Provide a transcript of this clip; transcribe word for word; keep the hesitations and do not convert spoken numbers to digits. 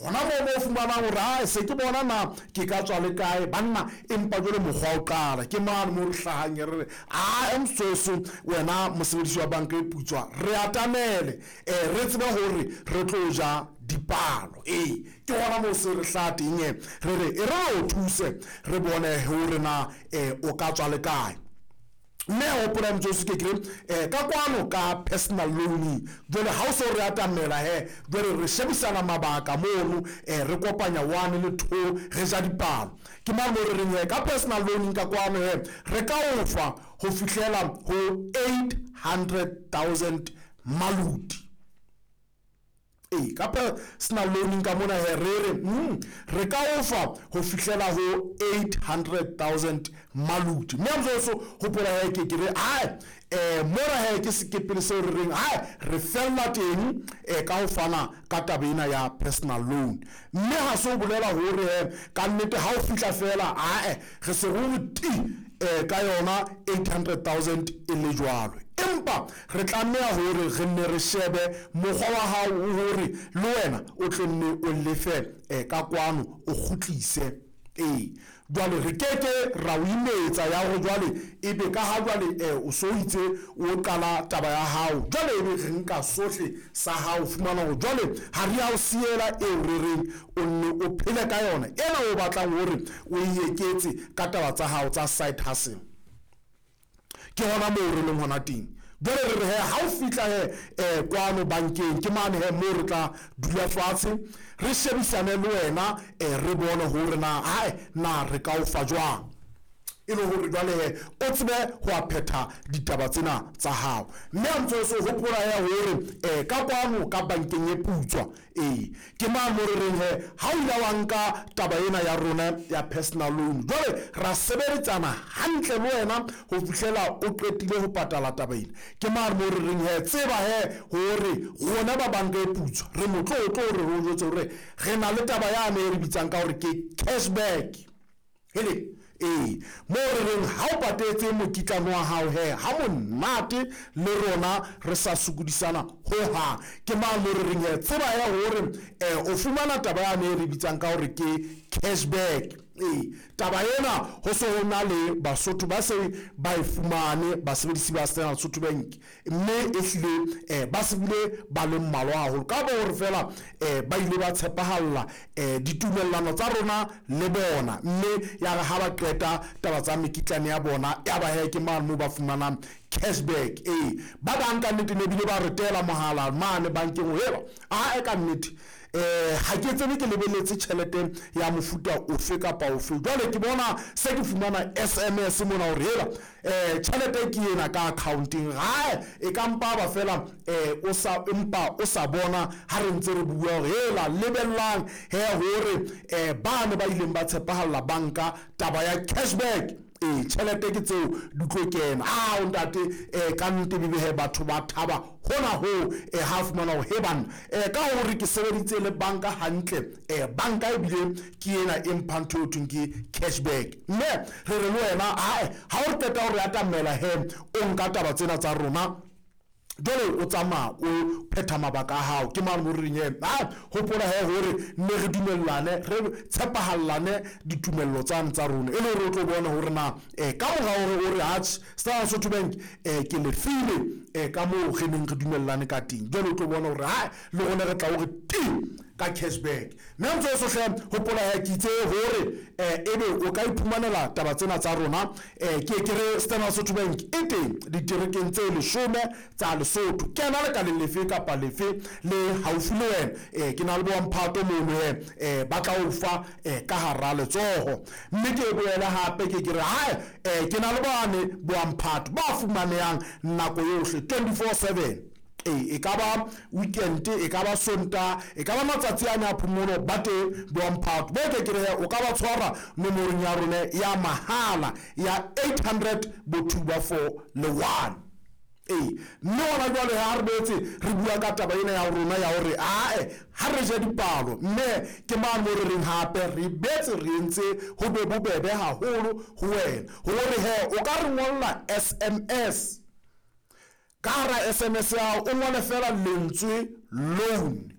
Gona moo mo o fumanang gore a se ke bona na ke ka tswa le kae banna, empa jwale mokgwa o qala ke mane mo re hlahang re re a msoso wena mosebedisi wa banka e putswa, re atamele um re tsebe hore re tlo ja dipalo. Ee, ke gona moo se re hlaha teng, re re e re o thuse re bone hore na um o ka tswa le kae. Mme hopola motsotso ke kere um ka kwano ka personal loan, jwale ha o so re atamela he, jwale re shebisana mabaka mono, um re kopanya one le two, re ja dipalo. Ke mang mo re reng he ka personal loan ka kwano he re ka o fa ho fihlela ho eight hundred thousand maluti. Ee, ka personal loan ka mona he re re mm, re ka o fa ho fihlela ho eight hundred thousand maluti. Mme motsotso hopola he ke ke re ai eh mona he ke sekepele seo re reng ai re fella teng eh ka ho fana ka taba ena ya personal loan. Mme ha se o bolela hore he ka nnete ha o fihla fela ae re se re ti eh ka yona eight hundred thousand e le jwalo, empa re tlameha hore re nne re shebe mokgwa wa hao hore le wena o tle nne o lefe eh ka kwano o kgutlise. Ee, jwale re keke ra o imetsa ya hore jwale ebe ka ha jwale eh o so itse o qala taba ya hao, jwale ebe re nka sohle sa hao, fumana hore jwale ha re ya o siela eo re reng o nne o phele ka yona ena o batlang hore o e eketse ka taba tsa hao tsa side hustle. Ke hona moo re leng hona teng. Jwale re re he ha o fihla he eh kwano bankeng, ke mane he moo re tla dula fatshe re shebisane le wena eh re bone hore na hae na re ka o fa jwang, e le hore jwale he o tsebe ho a phetha ditaba tsena tsa hao. Mme a ntse o hopola he hore eh ka kwano ka bankeng e putswa, ee ke mang mo re reng he ha o ile wa nka taba ena ya rona ya personal loan, jwale ra sebeditsana hantle le wena ho fihlela o qetile ho patala taba ena. Ke mang mo re reng he tseba he hore rona ba banka e putswa re motlotlo hore re o jwetse hore re na le taba yane e re bitsang ka hore ke cashback. Hele, ee mo re reng ha o patetse mokitlano wa hao he ha monate le rona re sa sokodisana ho hang. Ke mang mo re reng he tseba he hore eh o fumana taba yane e re bitsang ka hore ke cashback. Ee, taba ena ho se ho na le Basotho ba se ba e fumane, basebedisi ba Standard Sotho Bank, mme e hlile eh ba se bile ba le mmalwa haholo ka bo hore fela eh ba ile ba tshepahalla eh ditumellano tsa rona le bona, mme ya re ha ba qeta taba tsa mekitlane ya bona ya ba he ke mane moo ba fumanang cashback. Ee, ba bang ka nnete ne bile ba re teela mohala mane bankeng heba a e ka nnete eh ha ke tsebe ke lebelletse tjhelete ya mofuta ofe kapa ofe, jwale ke bona se ke fumana S M S mona hore hela eh tjhelete ke ena ka accounting hae e ka mpa ba fela eh o sa empa o sa bona ha re ntse re bua hore hela lebellang he hore eh ba ne ba ileng ba tshepahalla banka taba ya cashback. Ee, tjhelete ke tseo di tlo kena. Ah ntate eh ka nnete bebe he batho ba thaba hona ho eh ha fumana hore he banna eh ka hore ke sebeditse le banka hantle eh banka e bile ke ena e mphang ntho eo thweng ke cashback. Mme re re le wena hae ha o qeta hore atamela he o nka taba tsena tsa rona, jwale o tsamaya o phetha mabaka a hao. Ke mang mo re reng he ha hopola he hore nne re dumellane re tshepahallane ditumello tsane tsa rona, e le hore o tlo bona hore na eh ka mora hore o re atjhe Standard Sotho Bank eh ke lefile eh ka moo re neng re dumellane ka teng, jwale o tlo bona hore ha le rona re tla hore ti ka cashback. Mme ntse o sohle hopola he ke itse hore eh ebe o ka iphumanela taba tsena tsa rona eh ke ke re Standard Sotho Bank e teng diterekeng tse leshome tsa Lesotho. Kena lekaleng lefe kapa lefe le haufi le wena eh ke na le bomphato mono he eh ba tla o fa eh ka hara letsoho. Mme ke boele hape ke ke re hae eh ke na le bane bomphato ba fumanehang nako yohle twenty-four seven. Ee, e ka ba weekend, e ka ba Sontaha, e ka ba matsatsi a ne a phomolo, ba teng bomphato bo ke ke re o ka ba tshwara nomorong ya rona ya mahala ya eight hundred bo two ba four le one. Ee, mme hona jwale ha re boetse re bua ka taba ena ya rona ya hore ae ha re je dipalo, mme ke mang mo re reng hape re betse re entse ho be bobebe haholo ho wena hore he o ka re ngolla S M S. Ka hara S M S ya hao o ngole fela lentswe loan,